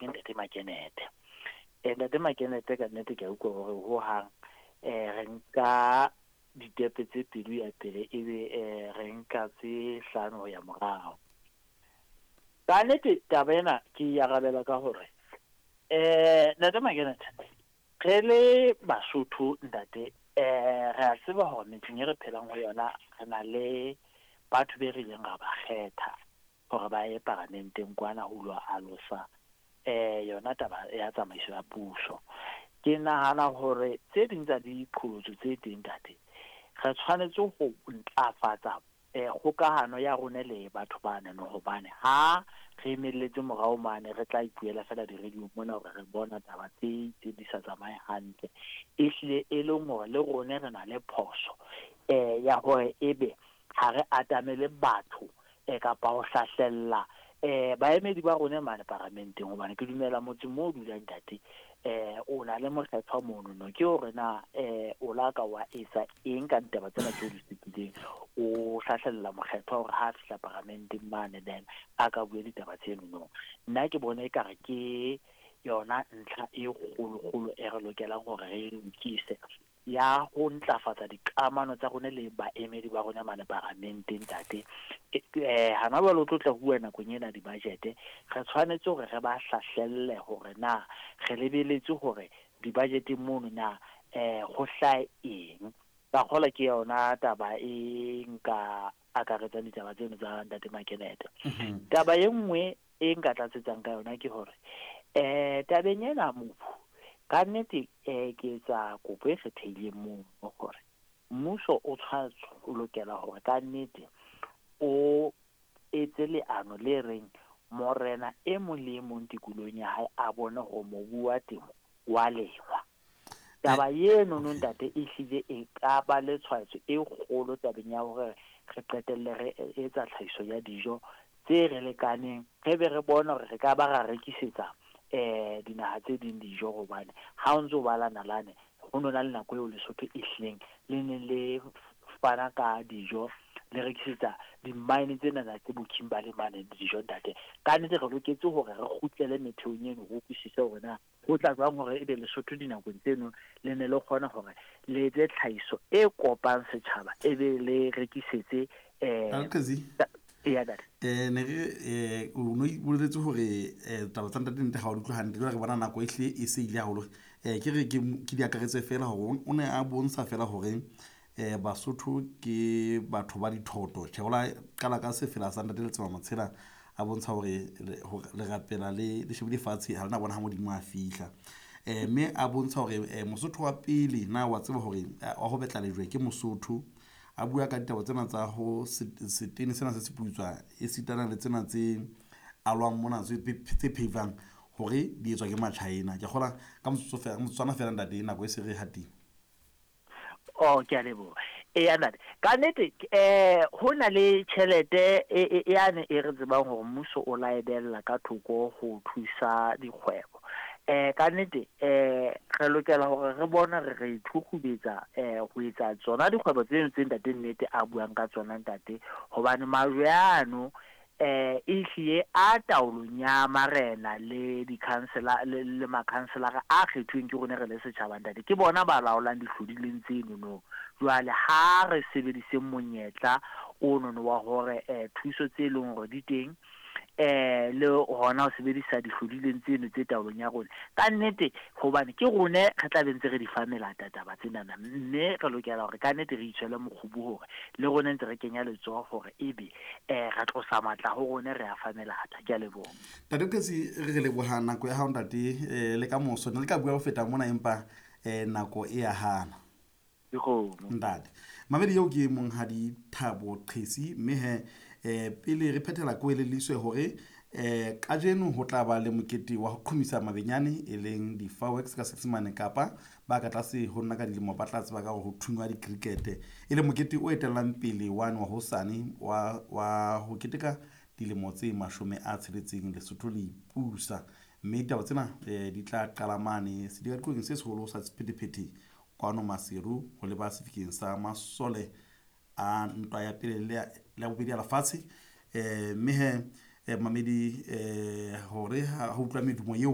ke Ntate Makenete. Ntate Makenete, ka nnete ke a utlwa hore hohang re nka ditepe tse pedi ho ya pele, ebe re nka tse hlano ho ya morao. Ka nnete taba ena ke e arabela ka hore Ntate Makenete, re le Basotho ntate, re a tseba hore metseng e re phelang ho yona re na le batho be re ileng ra ba kgetha hore ba ye paramenteng kwana ho lo alosa yona taba ya tsamaiso ya puso. Ke nahana hore tse ding tsa diqholotso tse teng ntate, re tshwanetse ho ntlafatsa kgokahano ya rona le batho banono, hobane ha re emelletse morao mane re tla ipuela fela di-radio mona hore re bona taba tse itseng di sa tsamaye hantle, ehlile e leng hore le rone re na le phoso ya hore ebe ha re atamele batho kapa ho hlahlella baemedi ba rona mane paramenteng. Hobane ke dumela motseng mo o dulang ntate, o na le mokgethwa monono, ke hore na o la ka wa etsa eng ka ditaba tsena tseo di supileng, o hlahlella mokgethwa hore ha a fihla paramenteng mane then a ka bua ditaba tsenono. Nna ke bona ekare ke yona ntlha e kgolokgolo e re lokelang hore re e lokise, ya ho ntlafatsa dikamano tsa rona le baemedi ba rona mane paramenteng ntate. Hana jwale o tlo tla bua nakong ena di-budget, re tshwanetse hore re ba hlahlelle hore na re lebeletse hore di-budgeteng mono na ho hlahe eng. Ka kgolwa ke yona taba e nka akaretsang ditaba tseno tsa Ntate Makenete. Taba e nngwe e nka tlatsetsang ka yona ke hore tabeng ena mobu, ka nnete ke etsa kopo e kgethehileng mono hore mmuso o tshwanetse o lokela hore ka nnete o etse leano le reng morena e mong le e mong tikolohong ya hae a bone hore mobu wa temo wa lengwa. Taba eno no ntate e hlile e ka ba le tshwaetso e kgolo tabeng ya hore re qetelle re etsa tlhahiso ya dijo tse re lekaneng, re be re bone hore re ka ba ra rekisetsa dinaha tse ding dijo. Hobane ha o ntso bala nalane, ho no na le nako eo Lesotho e hlileng le neng le fana ka dijo, le rekisetsa di-mine tsenana tse bo Kimberley mane dijo ntate. Ka nnete re loketse hore re kgutlele metheong eno, re utlwisise hore na ho tla jwang hore ebe Lesotho dinakong tseno le ne le kgona hore le etse tlhahiso e kopang setjhaba, e be le rekisetse Eya ntate. Ne re o no boleletse hore taba tsa ntate nte ga o di utlwe hantle, jwale re bona nako e hle e se ile haholo. Ke re ke di akaretse fela hore o ne a bontsha fela hore Basotho ke batho ba dithoto. Tjhe, o la qala ka sefela sa Ntate Letsema Motshela, a bontsha hore le rapela le shebile fatshe, ha lena bona ha Modimo a fihla. Mme a bontsha hore Mosotho wa pele na wa tseba hore wa ho betla lejwe ke Mosotho. A bua ka ditaba tsena tsa ho setene sena se seputswa, e sitana le tsena tse alwang mona tse pheivang hore di etswa ke Machina. Ke kgola ka motsotso fela, motsotswana fela ntate, nako e se re hatile. Oh, ke a leboha. Eya ntate, ka nnete ho na le tjhelete yane e re tsebang hore mmuso o la e behella ka thoko ho thusa dikgwebo. Ka nnete re lokela hore re bone re re ithukgubetsa ho etsa tsona dikgwebo tseno tse ntate nnete a buang ka tsona ntate, hobane majwe ano ehlile a taolong ya marena le dikhansela le makhanselara a kgethuweng ke rona re le setjhaba ntate, ke bona ba laolang dihlodileng tsenono. Jwale ha re sebediseng monyetla onono wa hore thuso tse leng hore di teng le hona ho sebedisa dihlodileng tseno tse taolong ya rona ka nnete, hobane ke rone re tla be ntse re di fa melata taba tsenana, mme re lokela hore ka nnete re itshwele mokgubu hore le rone ntse re kenya letsoho hore ebe re tlosa matla ho rone re a fa melata. Ke a leboha. Ntate Qetsi, re leboha nako ya hao ntate, le ka moso ne le ka bua ho feta mona, empa nako e ya hana. Dikgomo. Ntate mamedi eo ke monghadi Thabo Qhesi, mme he pele re phethela ko elelliswe hore kajeno ho tla ba le mokete wa ho qhomisa mabenyane e leng di-fireworks ka Seesemane, kapa ba ka tlase ho nna ka dilemo ba tla tseba ka hore ho thungwa di-cricket, e leng mokete o etellang pele wane wa hosane wa ho keteka dilemo tse 60 Lesotho le ipusa. Mme ditaba tsena di tla qala mane sedikadikweng se seholo sa sephethephethe kwano Maseru, ho leba sefikeng sa masole a ntwa ya pele le ya bobedi ya lefatshe. Mme he mamedi hore ha utlwa medumo eo.